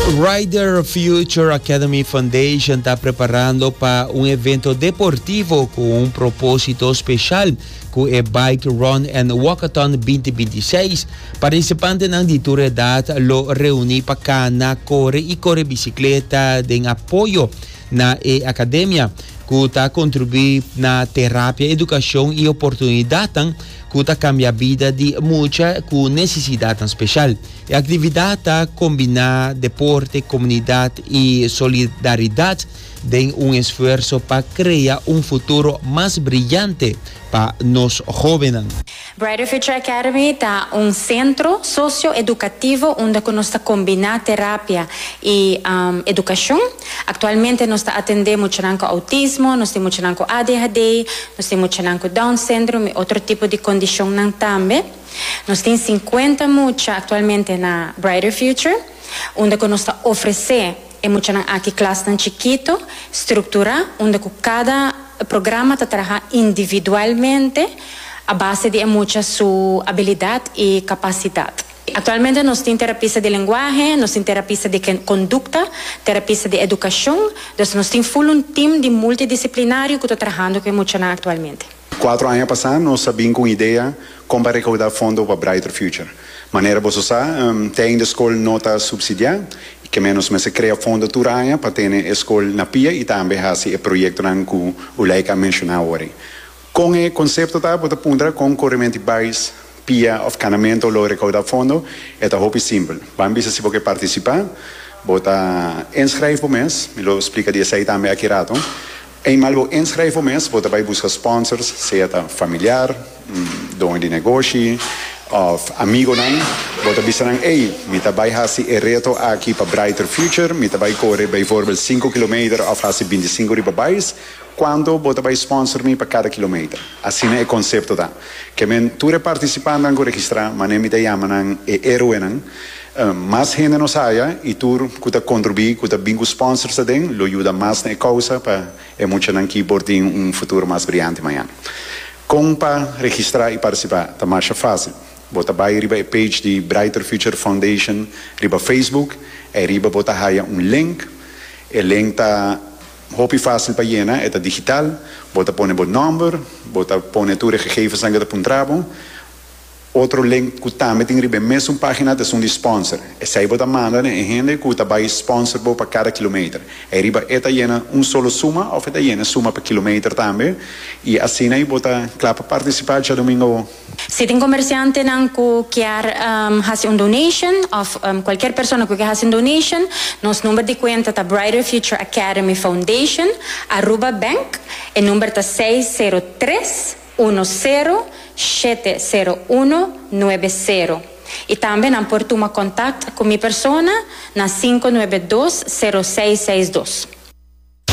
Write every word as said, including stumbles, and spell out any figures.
Brighter Future Academy Foundation ta preparando pa un evento deportivo cu un proposito special cu e Bike Run and Walkathon dos mil bintiseis. Participantenan di tur edad lo reuni pa cana, core y core bicicleta den apoyo na e academia, cu ta contribui na terapia, educacion y oportunidad cu ta cambia bida di mucha cu necesidad special. E actividad ta combina deporte, comunidad y solidaridad den un esfuerso pa crea un futuro mas briyante pa nos hobennan. Brighter Future Academy ta un centro socio-educativo unda nos ta combina terapia y um, educacion. Actualmente nos ta atende mucha cu autismo, nos tin mucha cu A D H D, nos tin mucha cu Down syndrome y otro tipo di condicion tambe. Nos tin cincuenta mucha actualmente na Brighter Future, unda nos ta ofrece e mucha aki klas chikito, structura, unda cada programa ta traha individualmente a base di mucha su habilidad y capacidad. Actualmente nos tin terapista di lenguahe, nos tin terapista di conducta, terapista di educacion, anto nos tin full un team di multidisciplinario cu ta trahando cu mucha actualmente. Cuater aña pasa, nos a bin cu idea con pa recauda fondo pa Brighter Future. Manera bo sa, um, tin di scol no ta subsidia, kiermen nos mester crea fondo tur aña pa tene e scol na pia y tambe haci e proyecto cu Uleika a menciona awor. Con e concepto ta, bo ta puntra con coremento bais, pia of canamento lo recauda fondo, ta hopi simpel. Ban bisa si bo participa, bo ta inschrijven bo mes, mi lo splica di esey tambe aki rato. Eenmaal bo inschrijven bo mes, bo ta bay busca sponsors, sea ta familiar, doño di negoshi, of amigonan, bo ta bisa nan: "Hey, mi ta bay hasi e reto aki pa Brighter Future, mi ta bay core bijvoorbeeld cinco kilometer of hasi binticinco riba bais, cuanto bo ta bay sponsor mi pa cada kilometer?" Asina e concepto ta. Kiermen tur participantenan cu registra, manera mi ta yama nan e heroenan, um, mas hende nos haya y tur cu ta contribui, cu ta bin cu sponsors aden, lo yuda mas na causa pa e muchanan aki por tin un futuro mas briyante mañan. Con pa registra y participa, ta mas facil. Bo ta bay riba e page di Brighter Future Foundation riba Facebook, y riba bo ta haya un link. E link ta hopi facil pa yena, e digital. Bo ta pone bo nomber, bo ta pone tur gegevens cu ta puntra bo. Otro link cu tambe tin riba mesun pagina ta un di sponsor. Esey bo ta manda e hende cu ta bay sponsor bo pa cada kilometer. Y riba e ta yena un solo suma of e ta yena suma pa kilometer tambe. Y asina ey bo ta cla pa participa diadomingo. Si tin comerciantenan cu kier um, haci un donation of um, cualkier persona cu kier haci un donation, nos number di cuenta ta Brighter Future Academy Foundation, Aruba Bank, e number ta seis zero tres un zero siete zero uno nuebe cero. Y tambe nan por tuma contacto cu mi persona na cinco nuebe dos, cero seis seis dos.